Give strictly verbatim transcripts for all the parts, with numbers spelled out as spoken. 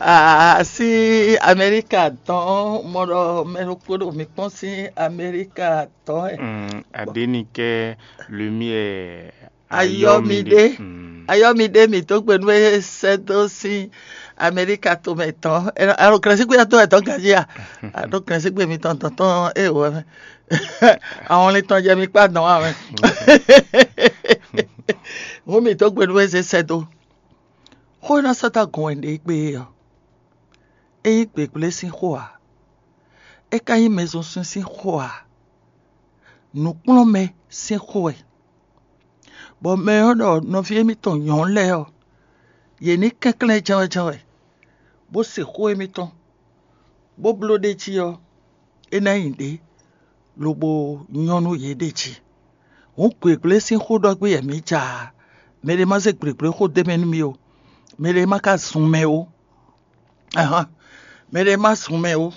Ah, sín Amɛlíka tɔn, mɔ ɖɔ mɛ ɖokpó ɖo mi kpɔ́n sín Amɛlíka tɔn ɛ. Mm, Adénikɛ Lumière Ayɔmide. Mm. Ayɔmide mi tó gbe nú e sɛ́ dó sín Amɛlíka tomɛ tɔn. Alo kɛlɛsígbe tɔn ɛ tɔn ganjí a? Alo kɛlɛsígbe mi tɔn tɔn tɔn e wɔ mɛ. Àwọn lin tɔn jɛ mi kpá dɔn wa mɛ. Hǔn mi tó gbe nú e zé sɛ́ dó. Xó e ná sɔ́ dó agɔn wɛ un ɖe gbé é ɔ́, é nyí gběgblé sín xó ǎ; é ka nyí mɛzunsun sín xó ǎ; nǔkplɔ́nmɛ sín xó wɛ. Bɔ mɛ ɔ́ ɖɔ nɔví émítɔn nyɔ̌nu lɛ́ɛ ɔ́, yě ní kɛnklɛ́n jɛ́nwɛ́jɛ́nwɛ, bó se xó émítɔn, bó bló ɖ'é jí ɔ́, é ná nyí ɖě, lobo nyɔ́ nú yě ɖ'é jí. Hǔn gběgblé sín xó ɖɔ gbé wɛ mǐ ja ǎ. Mɛɖé má zé gběgblé xó d'é mɛ nú mì ó; mɛɖé má ka zun mɛ ó. Ahán, mɛɖé má zun mɛ ó.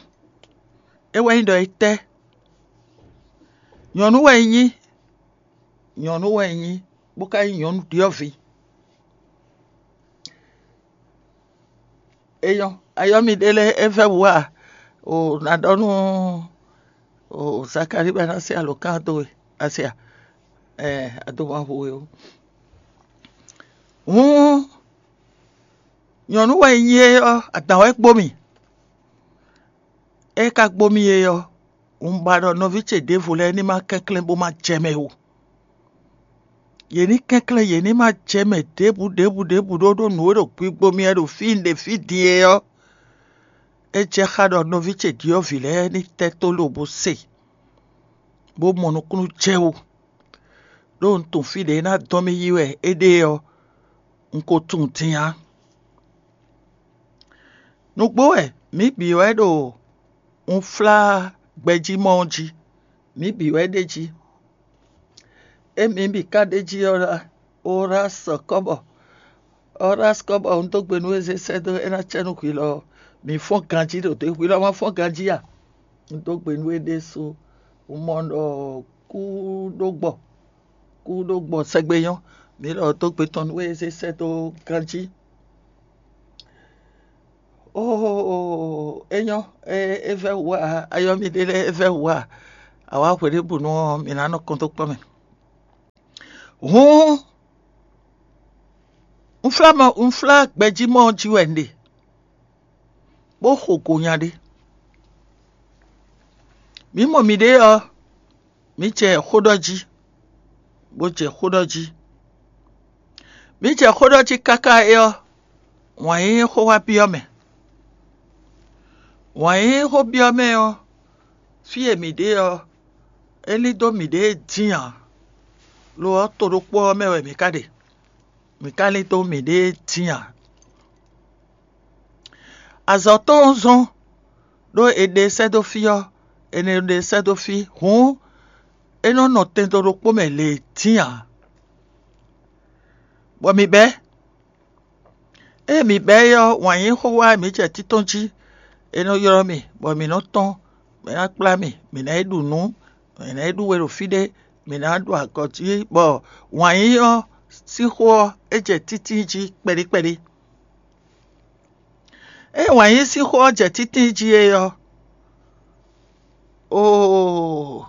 É wɛ nyí ɖɔ é tɛ́. Nyɔ̌nu wɛ un nyí, nyɔ̌nu wɛ un nyí, bó ka nyí nyɔ̌nu ɖyɔ̌vǐ. É nyɔ́, ayɔ́ mi ɖé lɛ́ɛ é vɛ́ wǔ a? O nǎ ɖɔ nú o Zakalíi bɔ é ná se alǒkan dó we, a se a? Ɛɛ, a dó wá hu we ó. Hǔn nyɔ̌nu wɛ nyí é ɔ́, adǎn wɛ gbó mì. É ka gbó mì é ɔ́, un ba ɖɔ nɔví ce ɖěvo lɛ́ɛ ní má kɛnklɛ́n bó má jɛ mɛ ó. Yě ní kɛnklɛ́n, yě ní má jɛ mɛ ɖěbǔ ɖěbǔ ɖěbǔ ɖó ɖó nǔ e ɖo gbigbo mì wɛ ɖo fí un ɖe fí din é ɔ́. É jɛ xá ɖɔ nɔví ce ɖyɔ̌vǐ lɛ́ɛ ní tɛ́ tó lobo se, bó mɔ nukúnnú jɛ wú, ɖó un tunwun fí ɖě é ná dɔn mì yi wɛ é ɖe ɔ́, un ko tunwun din ǎ. Nǔgbó wɛ mǐ bǐ wɛ ɖo unflágbɛjímɔ ɔ́ jí; mǐ bǐ wɛ ɖ'é jí. Émí bǐ ka ɖ'é jí ɔ́ lá, Orásɔ kɔ́bɔ. Orásɔ kɔ́bɔ, un dó gbe nú we zé sɛ́ dó é ná cɛ nú hwi lɔ. Mǐ fɔ́n ganjí ɖo dě, hwi lɔ ma fɔ́n ganjí a? Un dó gbe nú we ɖésú. Un mɔ ɖɔ kú ɖó gbɔ, kú ɖó gbɔ sɛgbe nyɔ́. Mǐ lɔ dó gbe tɔn nú we zé sɛ́ dó ganjí. Óo, é nyɔ́, é vɛ́ wǔ ǎ, ayɔ́ mi ɖé lɛ́ɛ é vɛ́ wǔ ǎ. Awǎ hweɖěbǔnu ɔ́, mǐ ná nɔ kɔn dó kpɔ́ mɛ. Hǔn, un flá mɔ un flá gbɛjímɔ ɔ́ jí wɛ un ɖe, bó xo go nya ɖé. Mǐ mɔ mǐɖée ɔ́, mǐ jɛ xó ɖɔ jí, bó jɛ xó ɖɔ jí. Mǐ jɛ xó ɖɔ jí káká é ɔ́, wǎn yíyí xó wá byɔ́ mɛ. Wǎn yíyí xó byɔ́ mɛ ɔ́, fí e mǐ ɖe ɔ́, é lín dó mǐɖée dín ǎ; lo ɔ́, to ɖokpó ɔ́ mɛ wɛ mǐ ka ɖe; mǐ ka lín dó mǐɖée dín ǎ. Azɔ̌ tɔn ɔ́ zɔ́n, ɖó è ɖe sɛ́ dó fí ɔ́, è nɔ ɖe sɛ́ dó fí, hǔn é nɔ nɔ tɛndo ɖokpó mɛ lě dín ǎ, bɔ mǐ bɛ́. Ée mǐ bɛ́ é ɔ́, wǎn yíyí xó wá mǐ jɛ títɔ́n jí; è nɔ ylɔ́ mì, bɔ mǐ nɔ́ tɔ́n, mǐ ná kplá mì, mǐ ná yi ɖu nǔ, mǐ ná yi ɖú we ɖo fí ɖé, mǐ ná ɖu agɔ̌ jí, bɔ wǎn yíyí ɔ́ sín xó ɔ́, é jɛ títí jí kpɛɖí kpɛɖí. Ée wǎn yíyí sín xó ɔ́ jɛ títí jí é ɔ́, oo,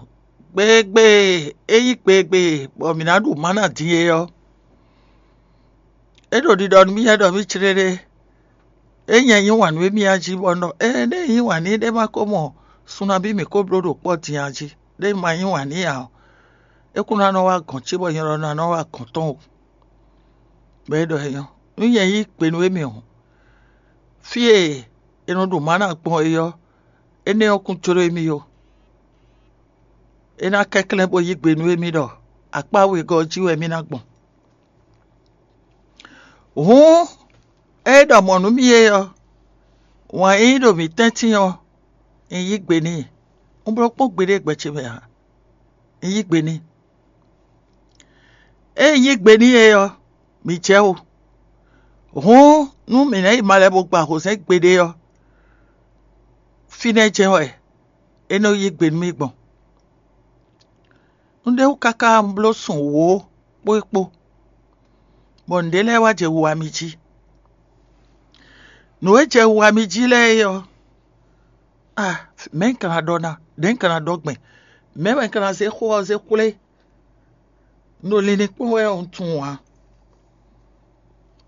gbeegbe e é nyí gbeegbe bɔ mǐ ná ɖu mǎ ná din é ɔ́, é ɖo ɖiɖɔ nú mì wɛ ɖɔ mì céɖéɖé. É nyɛ yí wǎn nú émí a jí bɔ un ɖɔ: Ée ɖé nyí wǎn n'i ɖé ma ko mɔ sun nabí mǐ ko bló ɖo kpɔ́ din a jí, ɖé un ma yí wǎn n'i ǎ ɔ́, é kún ná nɔ wá gɔ̌n ce bɔ nyɛ lɔ ná nɔ wá gɔ̌n tɔn o. Bɔ é ɖɔ é nyɔ́. Nú nyɛ yí gbe nú émí hǔn, fí e è nɔ ɖu mǎ ná gbɔn é ɔ́, énɛ́ ɔ́ kún jló émí ó. É ná kɛnklɛ́n bó yí gbe nú émí ɖɔ akpá wegɔ́ ɔ́ jí wɛ émí ná gbɔn. Hǔn, ée é ɖɔ mɔ̌ nú mì é ɔ́, wǎn e nyí ɖo mǐ tɛ́ntin ɔ́, un yí gbe n'i; un bló kpɔ́n gbeɖé gbɛ ce mɛ ǎ; un yí gbe n'i. Ée un yí gbe n'i é ɔ́, mǐ jɛ wú. Hǔn, nú mǐ ná yi malɛ bó gba hǒzɛ́n gbeɖé ɔ́, fínɛ́ jɛ́n wɛ é nɔ yí gbe nú mì gbɔn. Un ɖe wú káká un bló sun wǒ kpó é kpó, bɔ nǔɖé lɛ́ɛ wá jɛ wiwa mì jí. Nǔ e jɛ wa mi jí lɛ́ɛ é ɔ́, a mɛ̌ un ka ná ɖɔ ná? Nɛ̌ un ka ná ɖɔ gbɛn? Mɛ̌ wɛ un ka ná zé xó ɔ́ zé xwlé? Un ɖo linlin kpɔ́n wɛ un tunwun ǎ.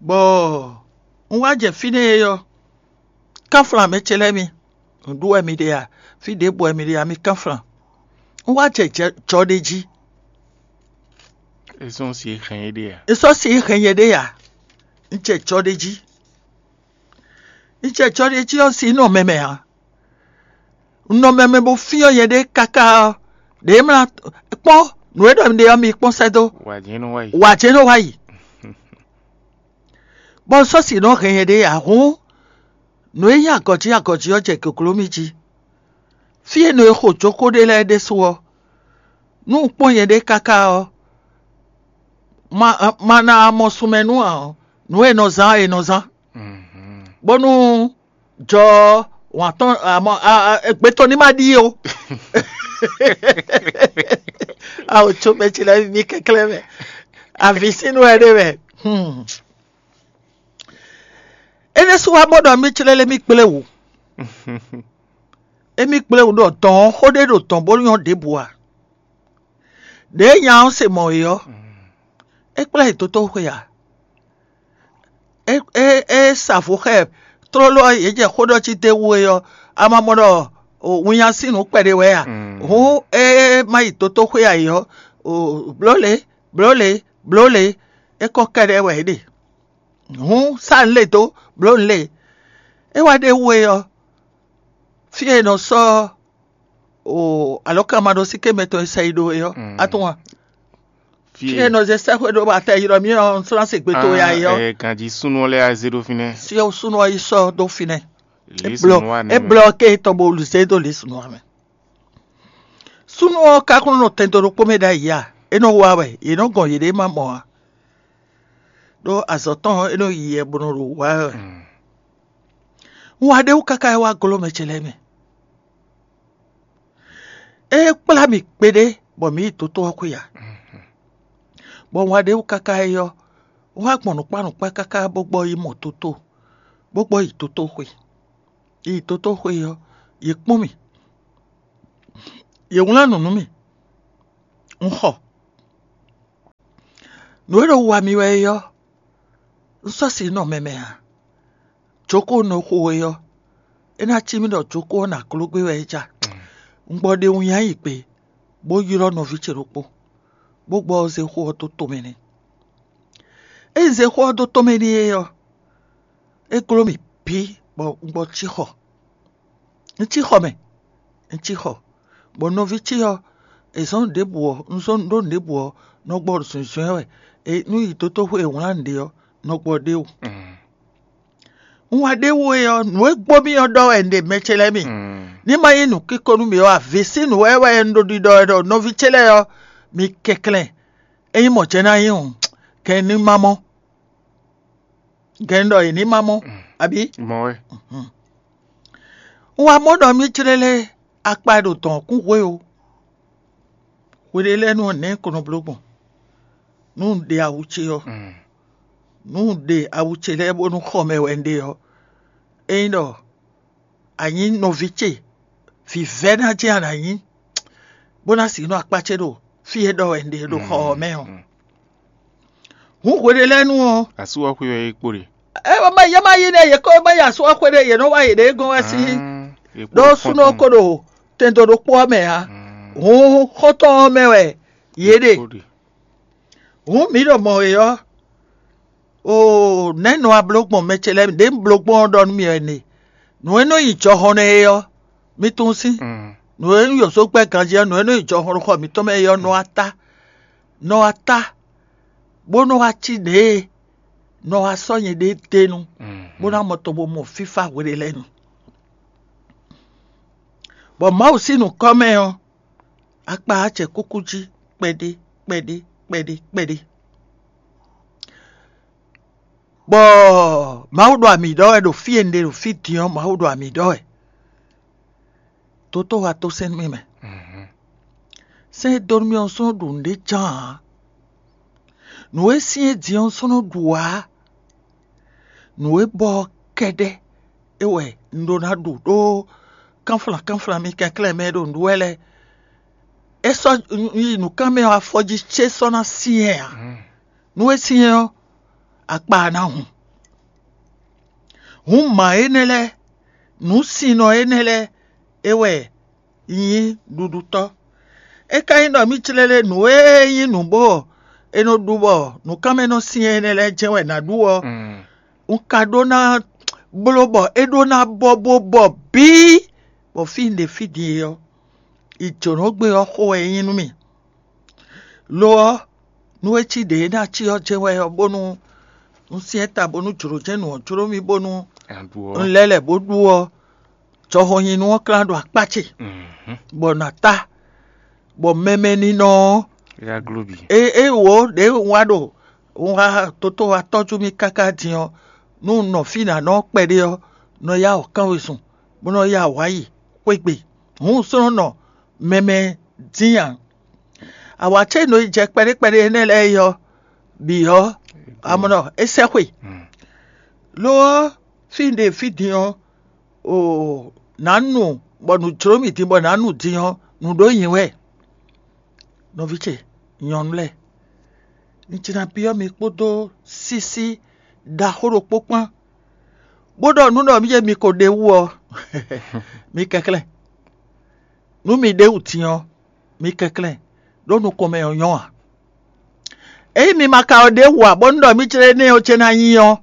Bɔ un wá jɛ fínɛ́ é ɔ́, kánflán mɛ ce lɛ́ɛ mi, nǔɖuɖu wɛ mi ɖe a? Fí ɖěbǔ wɛ mi ɖe a? Mi kánflán. Un wá jɛ jɔ ɖé jí. É sɔ́ si hɛn é ɖe a? É sɔ́ si hɛn nyɛ ɖé a? Un jɛ jɔ ɖé jí. Un jɛ jɔ ɖé jí ɔ́ si nɔ mɛmɛ ǎ. Un nɔ mɛmɛ bó fyɔ́ nyɛ ɖé káká ɔ́, ɖě mla kpɔ́n nǔ e ɖɔ mi ɖe ɔ́ mi kpɔ́n sɛ́ dó. Wǎjɛ́nú wá yi. Wǎjɛ́nú wá yi. Bɔ un sɔ́ si nɔ hɛn nyɛ ɖé ǎ hǔn, nǔ e nyí agɔ̌jí agɔ̌jí ɔ́ jɛ gěgló mì jí. Fí e nɔ e xo jókó ɖe lɛ́ɛ ɖésú ɔ́, nú un kpɔ́n nyɛ ɖé káká ɔ́, ma ma ná mɔ sunmɛ nú ǎ ɔ́, nǔ e nɔ zán ɔ́, è nɔ zán. Bónú jɔ wǎn tɔn amɔ gbetɔ́ ní ma ɖíe ó. Awo tso mɛ ce lɛ́ɛ mi kɛnklɛ́n mɛ. Avǐ sín nú wɛ ɖé mɛ. Hmm. Énɛ́ sú wá mɔ ɖɔ mí clɛ́ lé mí kplé wǔ. Émí kplé wǔ ɖɔ dɔ̌n ɔ́ xó ɖé ɖo dɔ̌n bó nyɔ́ ɖěbǔ ǎ. Ɖěe nya ɔ́ se mɔ̌ é ɔ́, é kplá yi dótó xwe ǎ. É é é sa vo xá ɛ tlóló ɔ́, yě jɛ xó ɖɔ cí d'é wú é ɔ́, a ma mɔ ɖɔ winnya sín nǔ kpɛɖé wɛ a? Hǔn é má yi dótó xwe ǎ é ɔ́, blǒ lě blǒ lě blǒ lě, é kɔ kɛɖɛ́ wɛ é ɖe. Hǔn sá nǔ lě dó, blǒ nǔ lě. É wá ɖ'é wú é ɔ́, fí e è nɔ sɔ́ o alɔ̌kanmaɖósíké mɛtɔn e sɛ yi ɖó é ɔ́, a tunwun a? Fí e è nɔ zé sɛ́xwé ɖó atɛ yi ɖɔ mì ɔ́, un slán se gbe towe ǎ é ɔ́, ganjí súnnu ɔ́ lɛ́ɛ zé ɖó fínɛ́. Fí e súnnu ɔ́ yi sɔ́ dó fínɛ́. É blɔ é blɔ ké tɔn bo zé dó lǐsunu ɔ́ mɛ. Súnnu ɔ́ ka kún nɔ tɛn dó ɖokpó mɛ ɖ'ayǐ a? É nɔ wa wɛ, yě nɔ gɔn yěɖée ma mɔ ǎ. Ɖó azɔ̌ tɔn ɔ́, é nɔ yi yɛ bó nɔ ɖo wa wɛ. Un wá ɖ'é wú káká é wá glɔ́ mɛ ce lɛ́ɛ mɛ. É kplá mì kpéɖé bɔ mǐ yi dótó ɔ́ xwé ǎ. Bɔ un wá ɖ'é wú káká é ɔ́, un wá gbɔn nǔkpá nǔkpá káká bó gbɔ yi mɔ dótó, bó gbɔ yi dótó xwe. Yi dótó xwe ɔ́, yě kpɔ́n mì. Yě wlán nǔ nú mì. Un xɔ. Nǔ e ɖo wa mì wɛ é ɔ́, un sɔ́ si nɔ mɛ mɛ ǎ. Jǒkó nɔ xo é ɔ́, é ná cí mì ɖɔ jǒkó ɔ́ nǎ kló gbé wɛ é ja. Un gbɔ ɖe wun nyi ayǐ gbe, bó ylɔ́ nɔví ce ɖokpó, bó gbɔ zé xó ɔ́ dó tomɛ n'i. Ényí zé xó ɔ́ dó tomɛ n'i é ɔ́, é gló mì bǐ bɔ un gbɔ cí xɔ. Un cí xɔ mɛ, un cí xɔ, bɔ nɔví ce ɔ́, è zɔ́n nǔ ɖěbǔ ɔ́, un zɔ́n nǔ ɖó nǔ ɖěbǔ ɔ́, nɔ gbɔ zunzun ɛ wɛ. Nú yi dótó xwe e wlán nǔ ɖe ɔ́, nɔ gbɔ ɖ'é wú. Un wá ɖ'é wú é ɔ́, nǔ e gbó mì ɔ́ ɖɔ wɛ un ɖe mɛ ce lɛ́ɛ mi. Ní ma nyí nǔkíko nú mì ɔ́, avǐ sín nǔ wɛ wɛ un ɖo ɖiɖɔ wɛ ɖɔ nɔví ce lɛ́ɛ ɔ́, mi kɛnklɛ́n. Ényí mɔ̌ jɛ́n ná nyí hǔn, gɛ̌n ní ma mɔ. Gɛ̌n ɖɔ è ní ma mɔ, abǐ? Mɔ̌ wɛ. Un wá mɔ ɖɔ mì jlélé akpa e ɖo dɔ̌n ɔ́ kún hwe ó. Hweɖé lɛ́ɛ nú nɛ̌ ko nɔ bló gbɔn? Nú un ɖe awu ce ɔ́, nú un ɖe awu ce lɛ́ɛ bónú xɔ mɛ wɛ un ɖe ɔ́, ényí ɖɔ a nyǐ nɔví ce, vǐvɛ́ ná jɛ́n a nǎ nyí, bó ná sixú nɔ akpá ce ɖo fí e ɖɔ wɛ un ɖe ɖo xɔ ɔ́ mɛ ɔ́. Hǔn hweɖé lɛ́ɛ nu ɔ́, Asú ɔ́ xwé wɛ é kpo ɖe. é ma yɛ ma yi nɛ yě kó ma yi asú ɔ́ xwé ɖé yě nɔ wá yěɖée gɔ́n wɛ sí ɖó súnɔ ko ɖo tɛndo ɖokpó ɔ́ mɛ ǎ. Hǔn xɔ́ntɔn ɔ́ mɛ wɛ yě ɖe. Hǔn mǐ ɖo mɔ é ɔ́, oo nɛ̌ nɔ wá bló gbɔn mɛ ce lɛ́ɛ mi ɖě un bló gbɔn ɔ́ ɖɔ nú mi wɛ ne. Nǔ e nɔ nyi jɔhɔn nɛ́ é ɔ́, mi tunwun sín. Nǔ e nyí yǒzo gbɛ́ ganjí ɔ́, nǔ e nɔ nyi jɔhɔn ɖo xɔ mǐtɔn mɛ é ɔ́ nɔ wá tá, nɔ wá tá, bó nɔ wá cí ɖěe nɔ wá sɔ́ nyɛɖée d'é nu, bó ná mɔ tɔn bó mɔ fífá hweɖé lɛ́ɛ nu. Bɔ Mawu sín nǔkɔ́ mɛ ɔ́, akpa ɔ́ jɛ kúkú jí kpɛɖé kpɛɖé kpɛɖé kpɛɖé. Bɔ Mawu ɖo ami ɖɔ wɛ ɖo fí e un ɖe ɖo fí din ɔ́, Mawu ɖo ami ɖɔ wɛ. Dotó wa tó sɛn nú mì mɛ. Sɛn e dó nú mì ɔ́ sɔ́ nɔ ɖu nǔɖé ján ǎ. Nǔ e syɛ́n din ɔ́ sɔ́ nɔ ɖu ǎ. Nǔ e bɔ ɔ́ kɛ́ɖɛ́ é wɛ un ɖó ná ɖu ɖó kánflán kánflán mi kɛnklɛ́n mɛ e ɖo nǔɖuɖu wɛ lɛ́ɛ. É sɔ́ yi nǔkánmɛ ɔ́ afɔ jí cé sɔ́ ná syɛ́n ǎ. Nú é syɛ́n ɔ́, akpa ná hun. Hǔn mǎ énɛ́ lɛ́ɛ, nǔsinnɔ énɛ́ lɛ́ɛ, é wɛ nyí ɖuɖutɔ́. É ka nyí ɖɔ mì clélé nǔ e nyí nǔ bó ɔ́, è nɔ ɖu bɔ nǔkanmɛ nɔ syɛ́n énɛ́ lɛ́ɛ jɛ́n wɛ è nǎ ɖu ɔ́, un ka ɖó ná bló bɔ é ɖó ná bɔ bó bɔ bǐ, bɔ fí un ɖe fí din e ɔ́, yi jǒnɔgbé ɔ́ xo wɛ é nyí nú mì. Lo ɔ́, nú é cí ɖě e ná cí ɔ́ jɛ́n wɛ ɔ́, bónú un syɛ́n ta bónú jlǒ jɛ́n nǔ ɔ́ jló mì bónú un lɛ́ lɛ̌ bó ɖu ɔ́, jɔhɔn nyi nú ɔ́ klán ɖo akpá ce, bɔ nǎ ta, bɔ mɛmɛ ninɔ ɔ́, é é wǒ ɖě un wá ɖo un wá toto wá tɔ́jú mì káká din ɔ́, nú un nɔ fí nǎ nɔ kpɛɖé ɔ́, nɔ yá wǔ kán wezun, bó nɔ yá wǔ wá yi xwé gbe. Hǔn un slɔ́n nɔ mɛmɛ dín ǎ. Awǎ ce e nɔ yi jɛ kpɛɖé kpɛɖé énɛ́ lɛ́ɛ é ɔ́, bǐ ɔ́, amɔ̌ é sɛ́xwe. Lo ɔ́, fí un ɖe fí din ɔ́, o nǎ nu bɔ nǔ jló mì din bɔ nǎ nu din ɔ́, nǔ ɖó nyi wɛ. Nɔví ce nyɔ̌nu lɛ́ɛ, un jlá byɔ́ mi kpódó sísí ɖaxó ɖokpó kpán, bó ɖɔ nǔ ɖɔ mi e mi ko ɖe wú ɔ́, mi kɛnklɛ́n. Nú mi ɖe wǔ din ɔ́, mi kɛnklɛ́n, ɖó nukɔn mɛ ɔ́ nyɔ́ ǎ. Ényí mi ma ka ɔ́ ɖe wǔ ǎ, bónú ɖɔ mì jlɛ́ énɛ́ ɔ́ ce ná nyí ɔ́,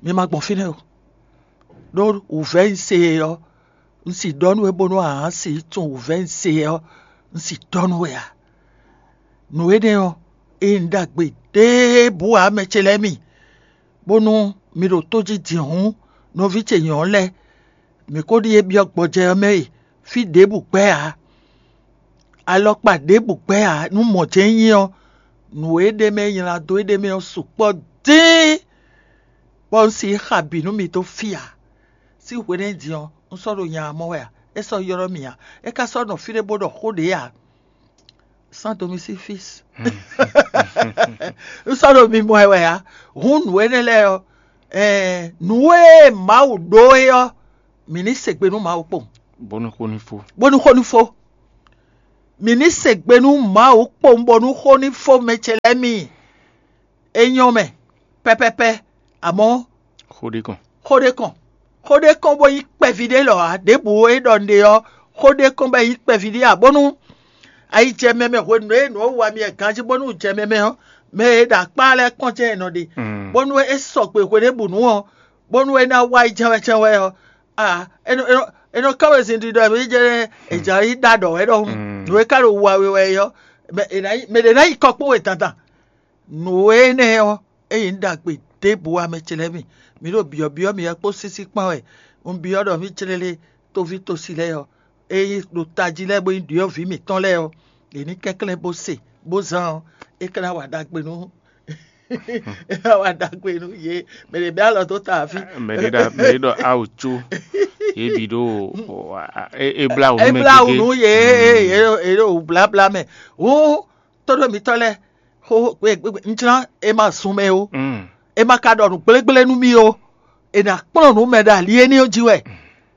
mi ma gbɔn fínɛ́ o. Ɖó wǔvɛ́ un se e ɔ́, un sì ɖɔ nú we bónú a nǎ si tunwun wǔvɛ́ un se ɔ́, un sì ɖɔ nú we ǎ. Nǔ énɛ́ ɔ́, é nyí nǔ ɖagbe ɖěbǔ ǎ, mɛ ce lɛ́ɛ mi, bónú mi ɖo tó jí din hǔn, nɔví ce nyɔ̌nu lɛ́ɛ, mǐ ko ɖíe byɔ́ gbɔjɛ́ ɔ́ mɛ e, fí ɖěbǔ gbɛ́ ǎ, alɔkpa ɖěbǔ gbɛ́ ǎ. Nú mɔ̌ jɛ́n nyí ɔ́, nǔ e ɖ'é mɛ nylá dó éɖée mɛ ɔ́ sukpɔ́ dín, bɔ un si yi xa bǐ nú mi dó fí ǎ. Sín hwenɛ́ din ɔ́, un sɔ́ ɖo nya ɔ́ mɔ wɛ ǎ; é sɔ́ ylɔ́ mì ǎ; é ka sɔ́ nɔ fí ɖé bó ɖɔ xó ɖě ǎ. Sans domicile fixe. Un sɔ́ ɖo mi mɔ ɛ wɛ ǎ. Hǔn nǔ énɛ́ lɛ́ɛ ɔ́, ɛɛ, nǔ e Mawu ɖó é ɔ́, mǐ ní se gbe nú Mawu kpowun, bónú xó ní fó. Bónú xó ní fó. Mǐ ní se gbe nú Mawu kpowun bónú xó ní fó, mɛ ce lɛ́ɛ mi. É nyɔ́ mɛ pɛ́pɛ́pɛ́, amɔ̌ xó ɖé kɔn. Xó ɖé kɔn. Xó ɖé kɔn bó nyí kpɛví ɖé lɔ ǎ. Ɖěbǔ e ɖɔ un ɖe ɔ́, xó ɖé kɔn bɔ é nyí kpɛví ɖé ǎ, bónú ayi jɛ mɛ mɛ hwenu e nǔ ɔ́ wa mi ganjí bónú un jɛ mɛ mɛ ɔ́, mɛ e ɖo akpá lɛ́ɛ kpɔ́n jɛ́n è nɔ ɖe, bónú é sɔgbe hweɖěbǔnu ɔ́, bónú é ná wá yi jɛ́n wɛ jɛ́n wɛ ɔ́, a é nɔ é nɔ é nɔ ká wezin ɖiɖɔ mɛ jɛ́n è jǎ yi ɖó aɖɔ̌ wɛ ɖɔhun. Nǔ e ka ɖo wa we wɛ é ɔ́, mɛ è nǎ yi mɛ ɖě ná yi kɔ kpó we dandan. Nǔ énɛ́ ɔ́, é nyí nǔ ɖagbe ɖěbǔ ǎ, mɛ ce lɛ́ɛ mi. Mi ɖo byɔ̌byɔ́ mì wɛ kpó sísí kpán wɛ. Un byɔ́ ɖɔ mǐ clélé toví tosi lɛ́ɛ ɔ́, é nyí ɖo tají lɛ́ɛ bó nyí ɖyɔ̌vǐ mǐtɔn lɛ́ɛ ɔ́, yě ní kɛnklɛ́n bó se, bó zán ɔ́, é ka ná wa ɖagbe nú é ná wa ɖagbe nú yě. Mɛ ɖě bɛ́ alɔ dó ta afí. Mɛ ɖě ɖɔ mɛ ɖě ɖɔ awu có, yě bǐ ɖo é é blá wǔ é nú mɛ blá wǔ gégé. Nú yě, yě ɖo yě ɖo wǔ bláblá mɛ. Hǔn tóɖó mitɔ́ lɛ́ɛ, xó un jlán è ma zun mɛ ó, è ma ka ɖɔ nǔ gblégblé nú mì ó, è nǎ kplɔ́n nǔ mɛ ɖo ali énɛ́ ɔ́ jí wɛ.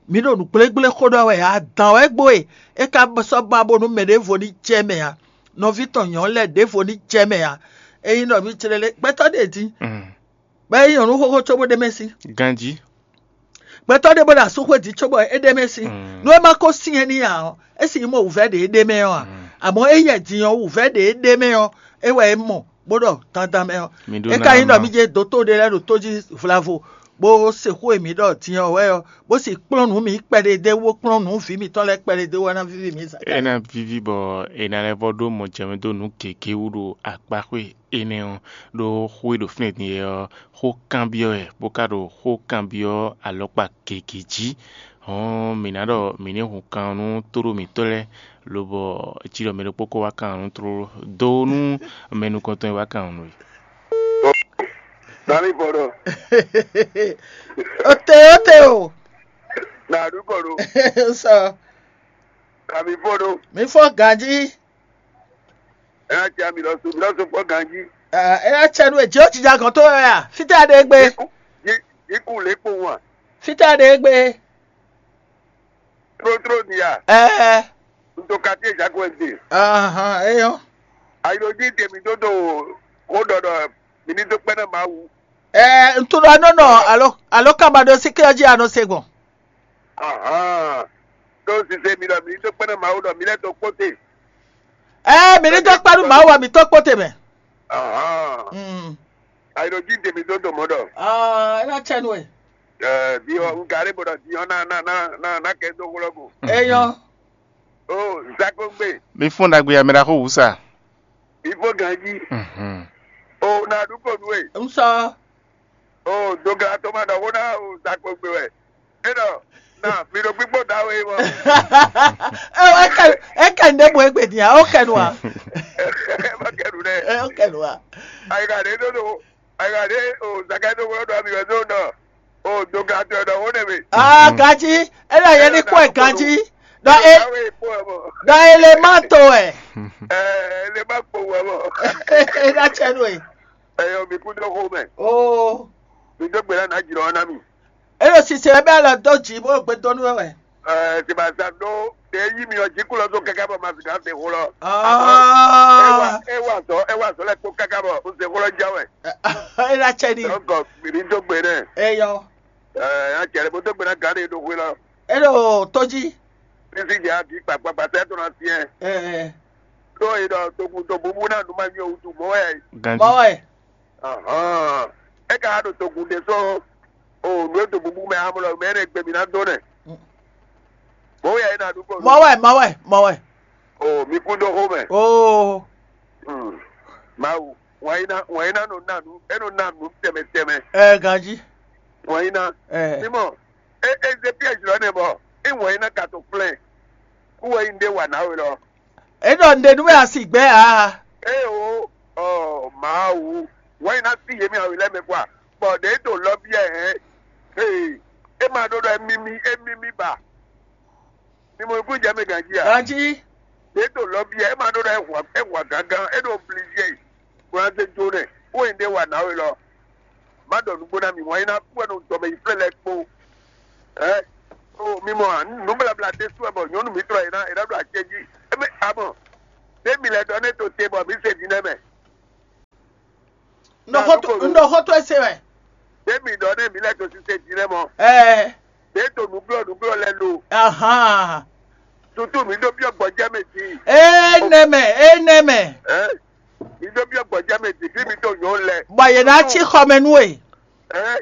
Mǐ ɖo nǔgblégblé xó ɖɔ wɛ, adǎn wɛ gbo e é ka sɔ́ ba bónú mɛ ɖěvo ní jɛ mɛ ǎ, nɔví tɔn nyɔ̌nu lɛ́ɛ ɖěvo ní jɛ mɛ ǎ. Ényí ɖɔ mǐ clélé gbɛtɔ́ ɖě dín, bɔ é nyɔ̌nu xóxó cóbó ɖ'é mɛ sín. Ganjí. Gbɛtɔ́ ɖé bó ɖo asúxwé din cóbɔ é ɖ'é mɛ sín. Nú é ma ko syɛ́n n'i ǎ ɔ́, é sì nyí mɔ wǔvɛ́ ɖě é ɖ'é mɛ ɔ́ ǎ. Amɔ̌ éyɛ́ din ɔ́, wǔvɛ́ ɖě é ɖ'é mɛ ɔ́, é wɛ é mɔ, bó ɖɔ dandan mɛ ɔ́. Mi ɖó É ná ka nyí ɖɔ ma. Mí jɛ dǒtó ɖé lɛ́ɛ ɖo tó jí vlavo, bó se xó e mǐ ɖɔ din ɔ́ wɛ ɔ́, bó sì kplɔ́n nǔ mǐ kpɛɖé dé wú, bó kplɔ́n nǔ vǐ mǐtɔn lɛ́ɛ kpɛɖé dé wú, é ná víví mǐ zǎ. É ná víví bɔ è nǎ lɛ́ vɔ ɖó mɔjɛmɛ dó nǔ gěgé wú ɖo akpáxwé énɛ́ ɔ́, ɖó xó e ɖo fínɛ́ din é ɔ́, xó kanbyɔ́ wɛ, bó ka ɖo xó kanbyɔ́ alɔkpa gěgé jí. Hɔn mǐ ná ɖɔ mǐ ní hun kan nú tóɖó mǐtɔn lɛ́ɛ, lobɔ cí ɖɔ mɛ ɖokpó ko wá kan nǔ tlóló dó nú mɛ nukɔntɔn e wá kan nǔ é. Nami fɔ ɖo. Ote ote o. Na du kɔ ɖo. Sɔ. Nami fɔ ɖo. Mi fɔ ganji. Ena tia mi lɔ so mi lɔ so kpɔ ganji. Ena tia nu eji o ti ja gɔn to ya fita de gbe. Iku iku le kpo wa. Peter ɖe gbe. Tlótló ni a? Ɛɛ. Un to quartier Jacques Wendy. Ahan, eyɔ. Ayi ɖo jí tèmi dó do xó ɖɔɖɔ mi ní dó kpɛ́ ná Mawu. Ɛɛ, un tunɔ nɔ nɔ alo alo kaba ɖo sí kí ɔjí anɔ se gbɔn. Ahan. Tó sise mi ɖɔ mi ní dó kpɛ́ ná Mawu ɖɔ mi lɛ́ dó kpóte. Ɛɛ, mi ní dó kpɛ́ nú Mawu wɛ mi tó kpóte mɛ. Ahan. Mm. Ayi ɖo jí tèmi dó do mɔ ɖɔ. Ah, é ná tsɛ nú ɛ. Ɛɛ, diɔ un ka ɖe bɔ ɖɔ diɔ na na na na na kɛ dó xlɔ ko. Eyɔ. O zakongbe. Mi fún ɖagbe ya mɛ ɖaxó wǔ sa. Mi fó ganji. Mhm. O na ɖu ko nú e. N sɔ. O doga to ma ɖɔ xó ná o zakongbe wɛ. E ɖɔ na mi ɖo gbígbó da we mɔ. Ɛ wɔ ɛkɛ ɛkɛ ndé mo egbe dia o kɛ nu a. Ɛ ma kɛ nu dɛ. Ɛ o kɛ nu a. Ayi ka ɖe do do. Ayiwa ɖe o Zakai ɖo wlɔ ɖɔ mi wɛ ɖo nɔ o dogatɔ ɖɔ wo nɛ mi. Aa ganji, e ɖɔ yɛ ní kpɔ́ ɛ ganji, ɖɔ e ɖɔ e lè má to ɛ. Ɛ ɛ lè má kpó wɛ mɔ. E ɖa tsɛ nú ɛ. Ɛyɔ mi kú dó xó mɛ. Oo. Mi dó gbe lánàá jǐ lɔ ná mi. E ɖo sise wɛ bɛ alɔ dó jǐ bó gbe dó nú wɛ wɛ. Ɛɛ sibasa ɖó ɖe yí mi ɔ jí kú lɔ só kɛkɛ bɔ ma sika se xó lɔ. Aa. E wa zɔ e wa zɔ lɛ kpó kɛkɛ bɔ un se xó lɔ já wɛ. E ɖa tsɛ ni. Donc mi ní dó gbe nɛ. Eyɔ. Ɛɛ a cɛ lɛ bó dó gbe ná gǎn ɖe ɖo xwé lɔ. E ɖo tó jí. Ní sí jɛ agi kpakpakpa sɛ tó ná fiɛ. Ɛɛ. Ɖó e ɖɔ togun to bubu ná nu ma nyɔ wutu mɔ wɛ. Ganji. Mɔ wɛ. Ahɔn. E ka ɖo togun ɖe sɔn o nǔ e do bubu mɛ amlɔ mɛ ne gbe mi ná dó nɛ. Mɔwɛ yɛ na ɖu kɔ. Mɔwɛ, mɔwɛ, mɔwɛ. O mi kún dó xó mɛ. Oo. Hmm. Mawu, wọ́n yín ná wọ́n yín ná nɔ ná nǔ é nɔ ná nǔ tɛmɛ tɛmɛ. Ɛ ganji. Wọ́n yín ná. Ɛ. Mímɔ, é é zé piège lɔ nɛ bɔ é wọ́n yín ná ka to flɛn. Kú wɛ yín ɖé wà náwó lɔ. Eɖɔ nɖe nú mɛ asi gbɛ a? Ée o, ɔ Mawu, wɛn ná sí yě mɛ awi lɛ́ɛ mɛ kpɔ́ a? Bɔ ɖě to lɔ biɛ hɛn. Ee, é ma ɖó ɖɔ émí mì émí mì ba. Mi mɔ ikú jɛ mɛ ganjí a? Ganjí. Ɖě to lɔ biɛ é ma ɖó ɖɔ é hwa é hwa gángan é ɖo obligé. Bó ná zé jó nɛ, ó nyí ɖé wa nǎwe lɔ. Má ɖɔ nǔgbó ná mi wǎn é ná kú wɛ nɔ dɔmɛ yi flɛ́ lɛ́ɛ kpó. Ɛ o mi mɔ a nǔ blabla ɖésú wɛ bɔ nyɔ̌nu mǐtɔn e ná e ná ɖo acɛ jí. Émí a mɔ ɖé mi lɛ́ ɖɔ nɛ́ to te bɔ mǐ se din nɛ́ mɛ. Un ɖɔ xó to- un ɖɔ xó to ese wɛ. Ɖé mi ɖɔ nɛ́ mǐ lɛ́ to sise din nɛ́ mɔ. Ɛɛ Ɖé to nǔglɔ́ nǔglɔ́ lɛ́ɛ lo. Ahan. Tutu mǐ ɖó byɔ́ gbɔjɛ́ mɛ din. Ee nɛ mɛ ee nɛ mɛ. Ɛ mi ɖó byɔ́ gbɔjɛ́ mɛ din fí mi to nyɔ̌nu lɛ. Bɔ yě ná cí xɔ mɛ nú we. Ɛ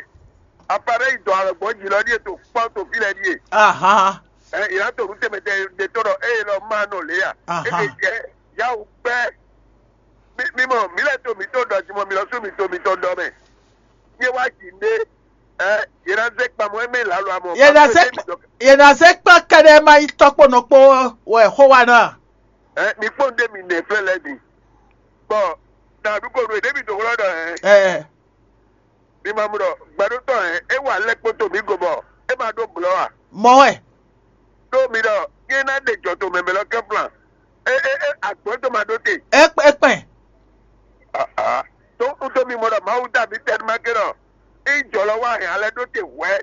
appareil dɔn alɔgbɔn jǐ lɔ ɖíe to kpɔ́n to fí lɛ ɖíe. Ahan. Ɛ yě ná to nǔ tɛnmɛ tɛnmɛ ɖe tɔn ɖɔ eye lɔ ma nɔ lě a. Ahan. Eke jɛ yawu kpɛ. Mi mi mɔ mi lɛ to mi to ɖɔ ti mɔ mi lɔ sú mi to mi to ɖɔ mɛ. Yé wá jǐ ɖé. Ɛ yě ná zé kpamɔ émɛ lǎlɔ amɔ. Yě ná zé yě ná zé kpɔ́n kɛɖɛ ma yi tɔkpɔnɔ kpó wɛ xó wa ná. Ɛ mi kpɔ́n ɖé mi nɛ flɛ́ lɛ mi. Bɔ na ɖu ko ɖo ɖé mi do xlɔ́ ɖɔ ɛ. Ɛ Mi ma mɔ ɖɔ gbɛɖótɔ́ hɛn é wa lɛ́ kpótó mǐ go bɔ é ma ɖó blɔ̌ a? Mɔ wɛ. Ɖó mi ɖɔ nyɛ ná ɖe jɔ to mɛmɛ lɔ kɛ́ plan. É é é agbɔ̌n tó ma ɖó te. É kpɛ́ é kpɛ́. Aa tó kútó mi mɔ ɖɔ Mawu dá mi tɛnumá ké ɖɔ é jɔ lɔ wá hɛn alɛ ɖó te hwɛ̌.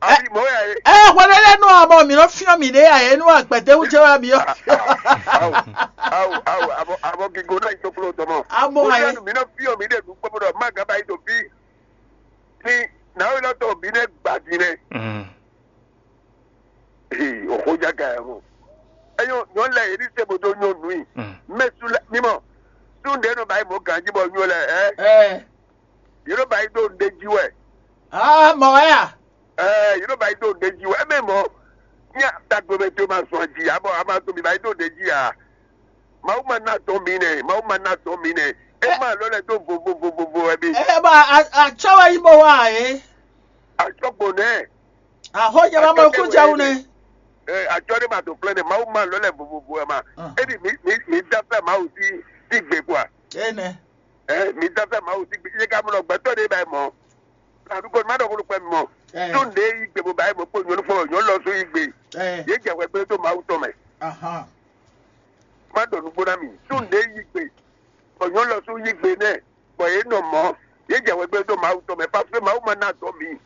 Abi mɔ wɛ a ye? Ɛ hwɛ ɖé lɛ nɔ amɔ mǐ nɔ fyɔ́n mǐɖée ǎ é nú agbɛ̌déwú jɛ wá mǐ ɔ́. Awu awu awu abɔ abɔ gigo náà yi tó kpló tɔmɔ. Amɔ ayé. Mǐ nɔ fyɔ́n mǐɖée nú kpɔ́ ɖɔ má gǎn ba yi tó bí. Ní nàá wí lɔ tó bí nɛ gbà dín nɛ. Ee, òxó jága yà mɔ. Ẹyọ nyɔ lɛ yìí ní sebo tó nyɔ nù yìí. Mɛ su lɛ mímɔ. Sunɖe nɔ ba yi mɔ ganji bɔ nyɔ lɛ ɛ. Ɛ Yìí ló ba yi dó nɖe jí wɛ. Aa mɔ wɛ a? Ɛɛ yìí ló ba yi dó nɖe jí wɛ. Ɛmɛ mɔ. Ní dagbe mɛ tó ma sɔn jì abɔ a ma tó mi ba yi dó nɖe jí a. Mawu ma ná tɔn mi nɛ, Mawu ma ná tɔn mi nɛ. E ma lɔ lɛ dó vovovovovo wɛ bi. Ɛ bɔ atsɔ wɛ yi bɔ wa yé. Atsɔ gbɔn nɛ. Ahɔ yɛ ma mɔ kú jɛ wu nɛ. Ɛ atsɔ ɖé ma tó flɛ nɛ, Mawu ma lɔ lɛ vovovo wɛ ma. Edi mi mi mi da fɛ Mawu sí sí gbe kua. Ene. Ɛ mi da fɛ Mawu sí gbe, yé ka mɔ gbɛtɔ ɖé ba yi mɔ. Aɖúgbò má ɖɔ kó ló pẹ́ mi mɔ. Tó nde yi gbe bó ba yi mɔ kpó nyɔnu fɔlɔ nyɔnu lɔ só yi gbe. Yé jɛ hwɛ gbé tó Mawu tɔn mɛ. Má ɖɔ nǔgbó ná mi. Tó nde yi gbe. Bɔ nyɔnu lɔ só yi gbe nɛ. Bɔ yě nɔ mɔ. Yě jɛ hwɛ gbé tó Mawu tɔn mɛ. Parce que Mawu ma ná dɔn mi.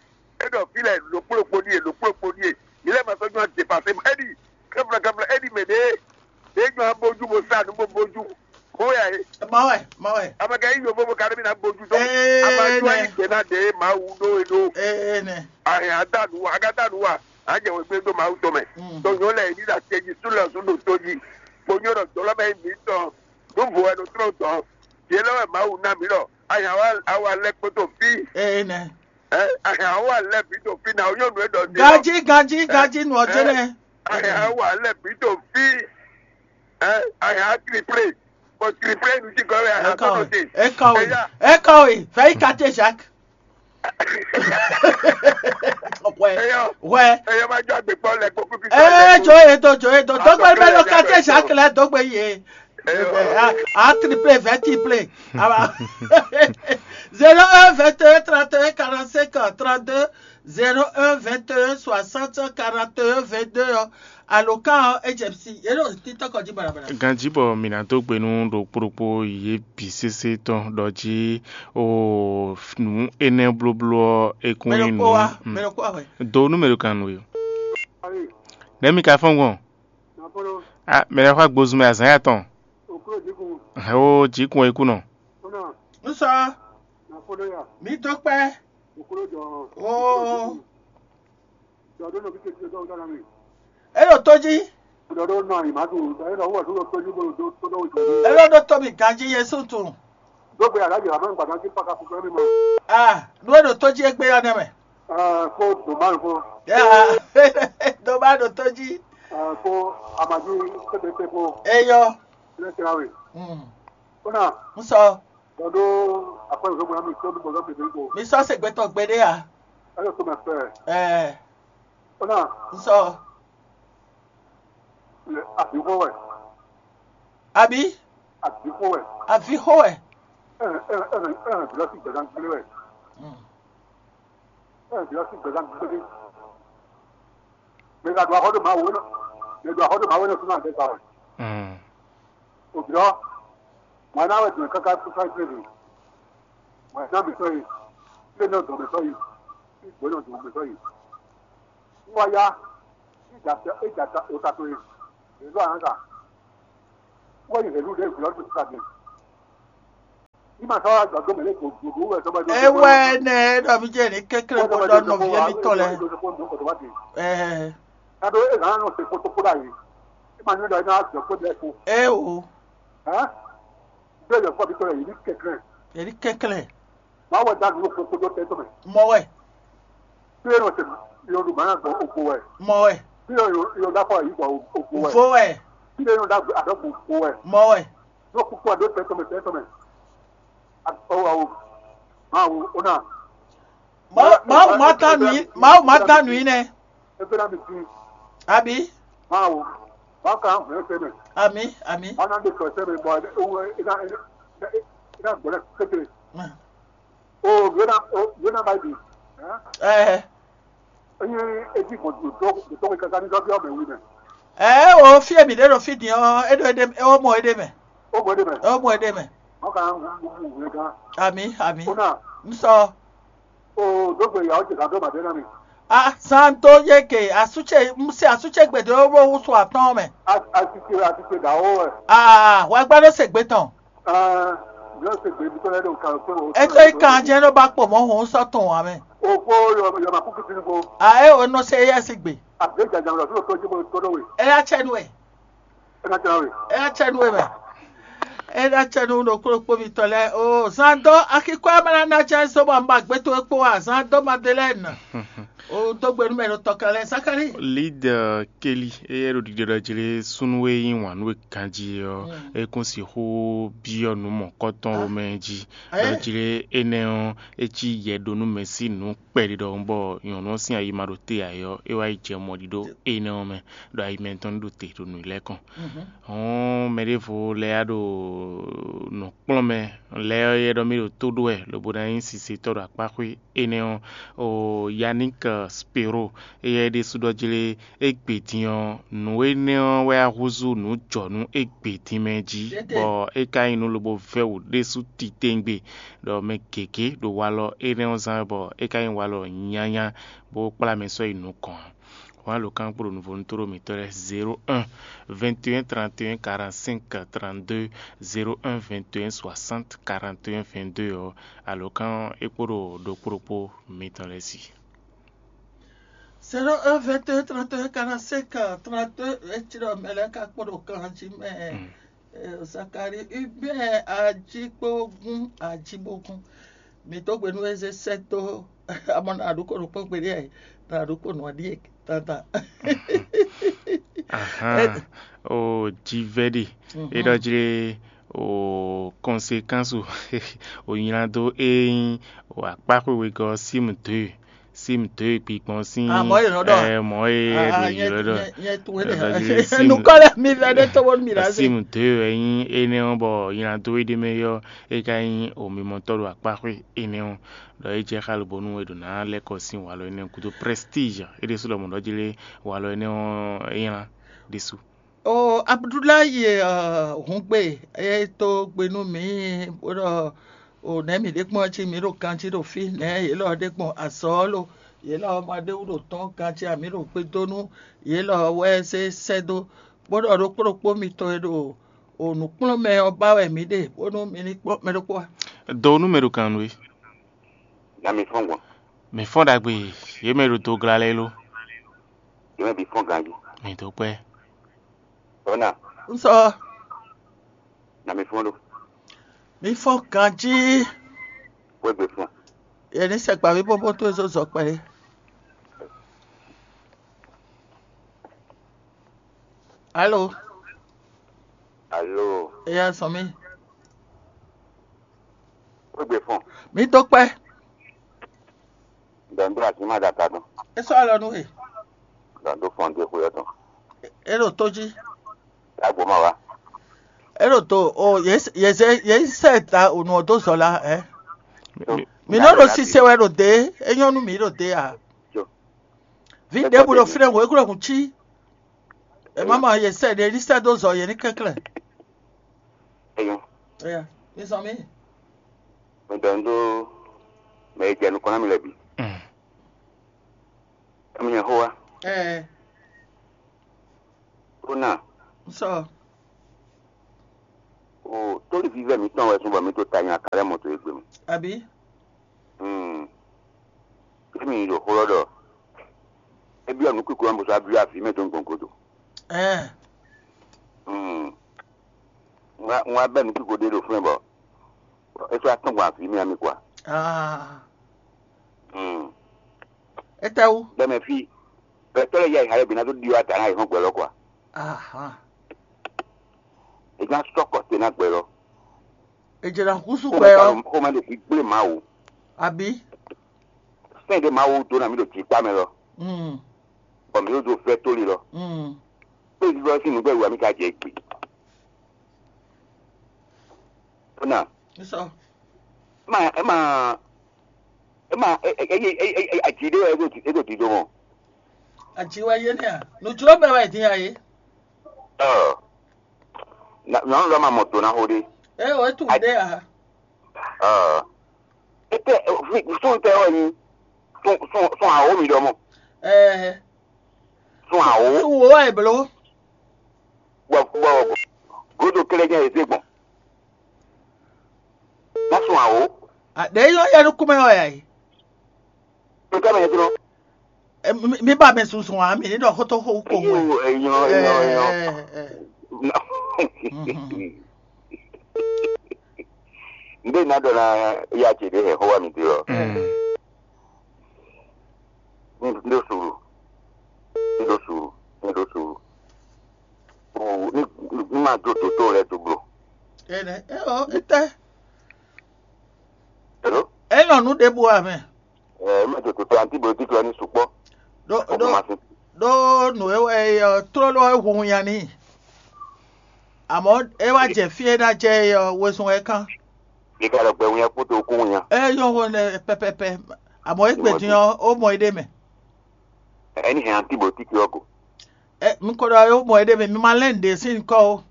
É ɖɔ fí lɛ lǒkplɔ́kpó ɖíe, lǒkplɔ́kpó ɖíe. Mǐ lɛ́ ma sɔ́ nyɔ́ adepase mɔ. É ɖi kɛ́flɛ́ kɛ́flɛ́, é ɖi mɛ ɖě. Ɖě nyɔ́ abojú bó sa nǔ bó bójú. Xó ya é. Mɔ wɛ, mɔ wɛ. Amɛka yí yovo bó ka ɖé mì ná gbójú tó. Ee, Ama jó nɛ. Ayí gbɛ ná ɖe Mawu ɖó e ɖó. Ee, nɛ. Ahɛn adanu wa, aga danu wa. Ajɛ wɛ gbé dó Mawu tɔn mɛ. Mm. Tó nyɔ́ lɛ ní ɖa tɛjí sú lɛ sú ɖo tó jí. Kponyɔ́ ɖɔ dɔlɔ mɛ mǐ tɔn. Nú vo wɛ ɖo trɔ́n tɔn. Yě lɔ wɛ Mawu ná mǐ ɖɔ. Ahɛn awa awa lɛ kpótó fí. Ee, nɛ. Ɛ ahɛn awa lɛ bǐ ɖo fí ná. Ó nyɔ́ nǔ e ɖɔ dé. Ganjí, ganjí, ganjí nɔ jɛnɛ. Ahɛn awa lɛ bǐ ɖo fí. Ɛ ahɛn atriplé. Bɔ triplé nu jí gɔ́ wɛ ahɛn kɔtɔ te. Ekawe, ekawe, vɛyi kate Jacques. Wɛ, eyɔ wɛ. Eyɔ ma jɔ agbe kpɔ lɛ kpɔkpɔ fi. Ee, jo ye do, jo ye do. Dogbe mɛ lo kate Jacques lɛ dogbe ye. Eyɔ. A triplé, vɛ triplé. Aba. Zéro un, vingt et un, trente et un, quarante-cinq, trente-deux, zéro un, vingt et un, soixante, quarante et un, vingt-deux. Alo kan ɔ, H M C, yě ɖo TikTok jí balabala. Ganjí bɔ mǐ ná dó gbe nú ɖokpó ɖokpó yě bǐ sésé tɔn ɖɔ jí o nǔ énɛ́ blóbló ɔ́ é kún nyí nǔ. Mɛ ɖokpó wá, mm, mɛ ɖokpó wá hwɛ. Do nú mɛ ɖo kan nú we. Nɛ̌ mi ka fɔ́n gbɔn? A mɛ lɛ́ɛ xɔ agbozun mɛ azǎn ya tɔn. Hɛn ó jí kun é kú nɔ. Nú sɔ, mǐ dó kpɛ́. Oo. É ɖo tó jí. É ɖo ɖó tó mì ganjí Yɛsu tunwun. Ah, nú é ɖo tó jí égbé ɔ́ nɛ́ mɛ. Kó dòmánu kó. Dòmá ɖo tó jí. Kó amají pépépé kó. Eyɔ. Lẹ́sẹ̀ ráwé. Mm. Kó náà. Ń sɔ. Bɔdó akpɛnusɔgbɔn mi tó bɔdó mi dé ko. Mi sɔ se gbɛtɔ gbeɖé a? Ɛyɔ tó mɛ fɛ. Ɛɛ. Ó náà. Ń sɔ. Lɛ àbíkó wɛ. Àbí? Àbíkó wɛ. Àbíkó wɛ. Ɛ ɛ ɛ ɛ ɛ bìlɔ sí gbɛ̀dán gbélé wɛ. Mm. Ɛ bìlɔ sí gbɛ̀dán gbélé. Mɛ gàdú axɔ́ ɖo Mawu wɛ nɔ. Mɛ ɖo axɔ́ ɖo Mawu wɛ nɔ súnú àgbẹ̀ gbà wɛ. Mm. Òbí ɔ́, mɔ̌ ná wɛ dùn káká kú fáyín fúnɛ dùn. Mɔ̌ ná mǐtɔn yi, fúnɛ nɔ dɔn mǐtɔn yi, gbɔ̌ nɔ dɔn mǐtɔn yi. Wọ́n wá yá, é jà ta é jà ta òta tó yi. Èló àná kà. Wọ́n yí hɛ̌lú ɖěe gbǐ ɔ́ tó sísá din. Ní màá sɔ́ wá gbàgbọ́ mɛ̌ lé gbògbò wɛ sɔ́ bá dó. Ewɛ nɛ ɖɔ mi jɛ ní kékeré kó ɖɔ nɔví mi tɔ lɛ. Ɛɛ. Ado e zan nɔ se kpotokpo ɖe ayi. E ma nyɔ ɖɔ e na zɔ kpo ɖe ko. Ee o. Hɛn. Bẹ́ẹ̀ yẹ fọ́ mi tɔ yẹ yìí ní kẹ̀kẹ́. Yẹ ní kẹ̀kẹ́. Màá wẹ̀ dá nínú kpokpo dó tẹ́ tɔmɛ. Mɔ wɛ. Bí yẹn nɔ se yọnu màá gbọ́ ògbó wẹ̀. Mɔ wɛ. Bí yẹn yọ dá fọ́ yìí gbọ́ ògbó wẹ̀. Vo wɛ. Bí yẹn yọ dá àdọ́gbò ògbó wẹ̀. Mɔ wɛ. Yóò kúkú àdó tẹ́ tɔmɛ tẹ́ tɔmɛ. Ɔwɔ awo. Máa wo ó náà. Mawu ma ta nù í, Mawu ma ta nù í nɛ. Ebe na mi ti. Abi. Máa wo. Máa ka hàn ẹ́ sẹ́mẹ̀. Ami, ami. Máa ná lè sọ sẹ́mẹ̀ bọ̀ ẹ̀ ẹ̀ ẹ̀ ẹ̀ ẹ̀ gbọ́dọ̀ kékeré. O yóò ná o yóò ná bá ibi. Ɛ. Ẹyin etí gbọ̀n tó tó tó kí kankan ní sọ́bí ọ̀bẹ wí mẹ́. Ɛ o fi èmi ɖe ɖo fi din ɔ, e ɖo e ɖe o mɔ e ɖe mɛ. Ó gbọ́dọ̀ mẹ́. O mɔ e ɖe mɛ. Wọ́n kà ń mú mú ìwé gan. Ami, ami. Ó náà. N sɔ. O dógbe ìyàwó ti kà dó màdé náà mi. A san tó yé ke asútsɛ se asútsɛ gbèdé ó bó wúso àtɔn mɛ. A a ti ṣe a ti ṣe dà ó ẹ̀. Aa wà gbá ló ṣègbè tán. Aa yóò ṣe gbèdé tó lẹ́nu kan tó o. Ètò ìkànjẹ́ ló bá pò mọ́ òun sọ́tún wa mẹ́. O kó yọ yọ màkúkú sínú ko. A é o nɔ se yẹ si gbè. Àbí ìjàjà lọ sí òkú ojúbọ tó lówè. Ẹ yá tsẹ nu ẹ. Ẹ ká tẹ wá wè. Ẹ yá tsẹ nu ẹ mẹ. Ẹ yá tsẹ nu ɖo kplɔ́kpó mitɔn lɛ́ɛ. O zan dó akíkó ɛ má ná ná jɛ zó bɔ un ba gbé towe kpó wá zan dó Madeleine. O dó gbe nú mɛ ɖo tɔkɛ lɛ́ɛ Zakari. Lide Kelly eye ɖo ɖiɖe ɖɔ jlé súnnu e yí wǎn nú e ganjí ɔ́, é kún sixú byɔ́ nǔ mɔ̌kɔtɔn wo mɛ jí. Ɖɔ jlé énɛ́ ɔ́, é cí yɛ ɖó nú mɛ sín nǔ kpɛɖé ɖɔhun bɔ nyɔ̌nu ɔ́ sín ayi ma ɖo te ǎ é ɔ́, é wá yi jɛ mɔɖiɖó énɛ́ ɔ́ mɛ, ɖo ayi mɛtɔn ní ɖo te ɖo nǔ lɛ́ɛ kɔn. Hɔ̌n mɛ ɖěvo lɛ́ɛ wá ɖo nǔ kplɔ́n mɛ lɛ́ɛ ɔ́, é ɖɔ mì ɖo tó ɖó wɛ lobo ná nyí sisetɔ́ ɖo akpáxwé énɛ́ ɔ́, o Yannick Spiro, éyɛ́ ɖésú ɖɔ jlé égbé din ɔ́, nǔ énɛ́ ɔ́ wɛ wá húzú nǔ jɔ nú égbé din mɛ jí, bɔ é ka nyí nǔ lobo vɛ́ wǔ ɖésú titewungbe, ɖɔ mɛ gěgé ɖo walɔ énɛ́ ɔ́ zán wɛ, bɔ é ka nyí walɔ nyanya, bó kplá mɛ sɔ́ yi nukɔn ǎ. Wǎn lǒ kan kpo ɖo nǔvónútó ɖo mǐtɔn lɛ́ɛ: zéro un, vingt et un, trente et un, quarante-cinq, trente-deux, zéro un, vingt et un, soixante, quarante et un, vingt-deux ɔ́, alǒkan é kpo ɖo ɖokpó ɖokpó mitɔn lɛ́ɛ sí. Zéro un, vingt et un, trente et un, quarante-cinq, trente-deux, é cí ɖɔ mɛ lɛ́ɛ ka kpo ɖo kan jí mɛ. Zakari Hubert Ajikpógún Ajibógún. Mǐ dó gbe nú Ezesɛ́ dó amɔ nǎ ɖu kó nǔkpɔ́n gbeɖé ǎ, nǎ ɖu kó nǔ ɔ́ ɖíe dandan. Ahán, o jivɛ́ ɖe é ɖɔ jlé o kɔnsekáns o nylá dó é nyí o akpáxwe wegɔ́ ɔ́ sín mǔ dó e. Sim dó e kpikpɔn sín Àmọ́ yě nɔ ɖɔ ɛ mɔ̌ e Ah, ɖo nyɛ- yǐylɔ́ ɖɔ nyɛ- nyɛ tunwun ɖɔ énɛ́. Jí Sim Nukɔ lɛ́ɛ mi vɛ ɖé tó bónú mi ɖǎ zé. Sim dó e wɛ nyí énɛ́ ɔ́, bɔ nylá dó e ɖ'é mɛ ɔ́, é ka nyí omimɔtɔ́ ɖo akpáxwé énɛ́ ɔ́, ɖɔ é jɛ xá lobonu e ɖo ná lɛ́ kɔ sín walɔ énɛ́ gúdo. Prestíge é ɖésú lɔmɔ̌ ɖɔ jí lé walɔ énɛ́ ɔ́ é nylá ɖésú. O Abudulayi ɔ, hǔngbe, é tó gbe nú mǐ bó ɖɔ o nɛ̌ mǐ ɖe gbɔn ɔ́ cí mǐ ɖo ganjí ɖo fí, nɛ̌ yě lɔ ɖe gbɔn azɔ̌ ɔ́ lo, yě lɔ ma ɖe wú ɖo tɔ́n ganjí ǎ, mǐ ɖo gbe dó nú yě lɔ wɛ zé sɛ́ dó, bó ɖɔ ɖokpó ɖokpó mitɔn e ɖo o nǔkplɔ́nmɛ ɔ́ ba wɛ mǐ ɖe, bónú mi ní kpɔ́n mɛ ɖokpó ǎ. Do nú mɛ ɖo kan nú we. Na mi fɔ́n gbɔn. Mi fɔ́n ɖagbe, yě mɛ ɖo do gla lɛ́ɛ lo. Yě mɛ bǐ fɔ́n ganjí. Mi dó kpɛ́. Ɔ́ na, Un sɔ na mi fɔ́n ɖo. Mi fɔ́n ganjí. Xwé gbe fún. Yě ní sɛ gbǎví bóbó tó zó zɔ kpɛɖé. Alo, Alo, eya sɔn mí. Xwé gbe fún. Mi dó kpɛ́. Dɔn dó así má ɖaka dɔn. É sɔ́ alɔ nú we. Dɔn dó fɔn dé xwé ɔ́ tɔn. É ɖo tó jí. Agbo má wá. É ɖo tó o yě yě zɛ yě sɛ ta o nǔ ɔ́ dó zɔ la ɛ. Mi nɔ ɖo sise wɛ ɖo dě, é nyɔ́ nú mǐ ɖo dě a. Vǐ ɖěbǔ ɖo fínɛ́ hwě glɔ́ hǔn cí. È má mɔ yě sɛ ɖě ní sɛ́ dó zɔ yě ní kɛnklɛ́n. Eyɔn. Eya, mi zɔn mí. Mi ɖɔ nú mɛ e jɛ nukɔn ná mi lɛ́ɛ bǐ. Mm. Emi nyɛ xó wa. Ɛɛ, Ó ná. Un sɔ. O tóli vívɛ mǐtɔn wɛ sún bɔ mǐ to ta nyi akalɛ mɔ to e gbe mɛ. Àbí? Hmm. Emi ɖo xó lɔ ɖɔ. É byɔ́ nǔ kúkú ɔ́ bó sɔ́ byɔ́ avǐ mɛ dó gbɔn godo. Ɛɛ. Hmm. Ŋwa ŋwa bɛ́ nǔ kúkú ɖé ɖo fún ɛ bɔ. É sɔ́ atɔ́n gbɔn avǐ mɛ ami kwa. Ah. Hmm. Étɛ́wú? Bɛ́ mɛ fí. Bɛ́ tɔ́ lɛ́ yá ìhà lɛ́ɛ bǐ ná dó ɖi wá ta ná yě hɔn gbɛ lɔ kwa. Aha. È ná sɔ́ kɔ te ná gbɛ lɔ. È jɛ ná húzú Xomɛ gbɛ ka ɔ́. Ɖo xomɛ ɖo gbígblé Mawu. Àbí? Sɛ́n ɖé Mawu dó ná mì ɖo jǐkpá mɛ lɔ. Mm. Bɔ mǐ ɖo dó vɛ́ tóli lɔ. Mm. Kpé vívɔ́ sín nǔgbɛ wú mì ka jɛ gbe. Ó ná. Sɔ. Má ɛ má ɛ má ɛ ɛ ɛ ɛ ɛ ɛ aji ɖé wɛ é ɖo dǐ- é ɖo dǐdó mɔ. Àjí wɛ yé nɛ́ a? Nǔjló mɛ wɛ dín a yé? Ɔ. Na nyɔnu lɔ ma mɔ do na xo ɖé. Ɛ o etu ɖé a? Ɔ. Ete fi sun tɛ wɛ nyi. Sun sun sun awo mi ɖɔ mɔ. Ɛ Sun awo. Sun wo wɛ blo. Bɔ bɔ godo kele nyɛ eze gbɔn. Na sun awo. Ɖe yɔ yɛ nukumɛ wɛ ya yi. Nka mɛ yɛ dɔrɔn. Mi ba mɛ sunsun wa mi ni ɖɔ xótó xó kpowun. Eyɔ eyɔ eyɔ. Nde na ɖɔ na ya ce ɖe hɛ xó wa mi te lɔ. Ní ɖó sùúrù, ní ɖó sùúrù, ní ɖó sùúrù. Ní ní máa jó dòdó lɛ dó bló. Ene eo ete. Hello? Enɔ nu ɖe bu amɛ. Ɛ ɛ mɛ dòdó tó antibiotique lɔ ní sukpɔ. Ɖó Ó ɖó kún ma sín. Ɖó nǔ e wɛ ɔ tlóló ɛ hu nya ní. Àmọ́ é wá jɛ fí e ná jɛ é ɔ́ wezun wɛ kán. Ní ká lọ gbɛ wínyá kpódó kún wínyá. É nyɔ́ hó nɛ pɛpɛpɛ. Àmọ́ é gbè dín ɔ́, ó mɔ é ɖé mɛ. Ɛni hɛn antibiotique ɔ́ ko. Ɛ, mi ko ɖɔ yo mɔ ede mi, mi ma lɛn ɖe sin kɔ o.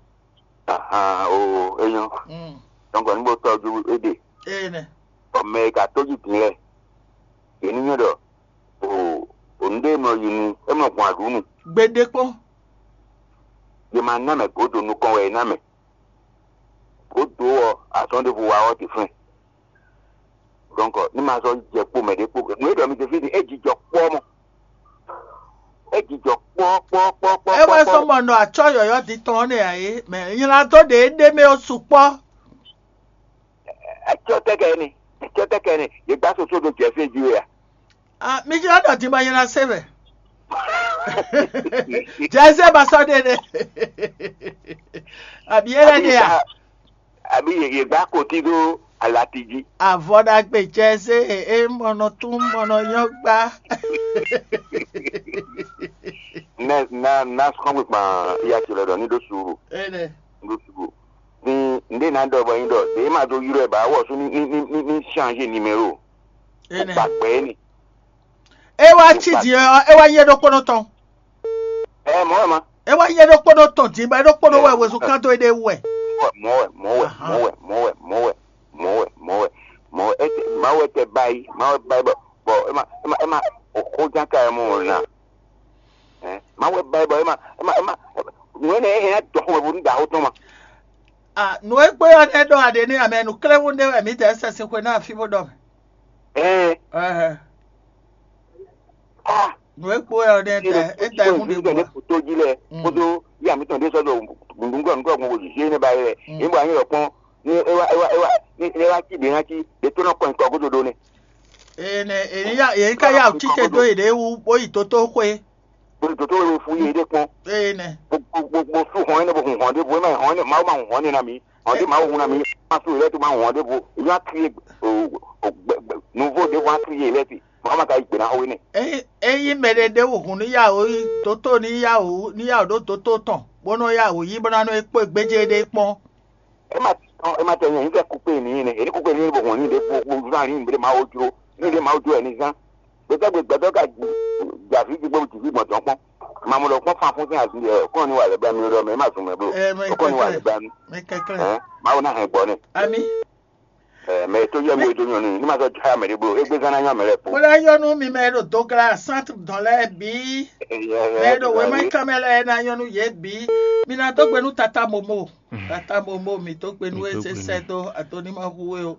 Ahan o, enyɔ. Mm. Donc ni bo tɔjú ede. Ene. Ɔmɛ ka tójú din lɛ. Yeni nyɔ ɖɔ o, o nde mɔ yi nu, e mɔ gbɔn aɖu nu. Gbede kpɔn. Ye ma ná mɛ godo nukɔn wɛ e ná mɛ. Godo ɔ, azɔn ɖevo wa ɔ ti flɛn. Donc ní ma zɔ jɛ kpo mɛ ɖé kpo. Nú e ɖɔ mi te fí ni, e jijɔ kpɔ mɔ. E jijɔ kpɔ kpɔ kpɔ kpɔ. E wɛ sɔ mɔ nɔ atsɔ yɔyɔ di tɔn ne a ye, mɛ nyla dó ɖe ɖe mɛ o sukpɔ. Atsɔ tɛkɛ ni, atsɔ tɛkɛ ni, ye gbá soso ɖo jɛ fí jí we a? Ah, mi jla ɖɔ di ma nyla se mɛ. Jɛ se ma sɔ ɖe ɖe. Abi ele ɖe a? Abi ye ye gbá koti ɖo alati jí. Avɔ ɖagbe jɛ se e mɔnɔ tún mɔnɔ nyɔ gbá. Na na na sɔn gbegban ya ti lɛ ɖɔ ni ɖo suru. Ene. Ni ɖo suru. Ni nde na ɖɔ bɔ nyi ɖɔ ɖe ma do yrɔ ba wɔ su ni ni ni ni ni change numéro. Ene. Gbagbɛ ni. E wá tsi di ɔ, e wá nyɛ ɖokpónɔ tɔn. Ɛ mɔ ɛ ma. E wá nyɛ ɖokpónɔ tɔn di ba ɖokpónɔ wɛ wezun kan to e ɖe wɛ. Mɔ wɛ mɔ wɛ mɔ wɛ mɔ wɛ mɔ wɛ mɔ wɛ mɔ wɛ mɔ wɛ ete ma wɛ tɛ bayi ma wɛ bayi bɔ bɔ ema ema ema oxo jan ka emu o na. Ɛ ma wɛ bayi bɔ ema ema ema nuwe ne ehe na dɔ xɔmɛ bo nu da xo tɔn ma. Ah, nǔ e kpé ɔ́ nɛ́ ɖɔ aɖě n'i amɛ nǔkléwún ɖé wɛ mǐdɛɛ sɛ́ sin xwe ná afí bó ɖɔ mɛ. Ɛɛ. Ɛhɛ. Ah. Nǔ e kpó wɛ ɔ́ ɖe é da é da é hún ɖě bɔ. Kótó jí lɛ kótó yí àmì tɔn ɖé sɔ́ ɖo nǔgbɔ nǔgbɔ gbɔn wòzǐzí énɛ́ ba yɛ yě bɔ anyí lɔ kpɔ́n ní é wá é wá é wá ní é wá cí ɖě ná cí ɖě tó nɔ kɔn nyǐkɔ gúdo ɖó nɛ́. Ene èyí ya èyí ká yà títɛ dó èɖé wú bó yi tótó xwé. Bó yi tótó wé fún yé ɖé kpɔ́n. Ene. Gbogbo sú hɔn énɛ́ bó hun hɔn ɖé bó é má hɔn énɛ́ Mawu má hun hɔn énɛ́ ná mǐ. Hɔn ɖé Mawu hun ná mǐ má sú yě lɛ́ɛ tó má hun hɔn ɖé bó. Èyí wá kí nǔvó ɖé wá kí yé lɛ́ɛ ti. Mama ka yi gbe ná xo we nɛ. Ényí mɛ ɖé ɖé wǔ hun ní yá wǔ yi dótó ní yá wǔ ní yá wǔ ɖó dótó tɔn, bó nɔ́ yá wǔ yí bó ná nɔ é kpó gbéjé ɖé kpɔ́n. É ma tɔn é ma tɛ nyɛ nyí kɛ kúkpé ní nɛ, èyí kúkpé ní bó hɔn ní ɖé bó bó zán ní ɖé ma wó jró, ní ɖé ma wó jró ɛ ní zán. Gbèsè gbé gbɛdɔ ka jà fi gbígbó jì fi gbɔn tɔn kpɔn. Mamu ɖɔ kpɔn fan fún sín azun yɛ kɔn ní wà lɛ bá mi ɖɔ mɛ má zun mɛ bló. Kɔn ní wà lɛ bá mi. Mɛ kɛkɛ. Mawu ná hɛn gbɔ nɛ. Ami. Ɛ mɛ tó yɛ mi ɖó nyɔnu ní ma sɔ jɔ mɛ ɖé bló égbé zán ná nyɔ mɛ lɛ kpó. Kpɔlɛ nyɔnu mi mɛ ɖo dogla sant dɔn lɛ bí. Mɛ ɖo wɛmɛ kamɛ lɛ ná nyɔnu yɛ bí. Mi ná dó gbɛnu tata momo. Tata momo mi dó gbɛnu ese sɛ dó adoni ma hu o.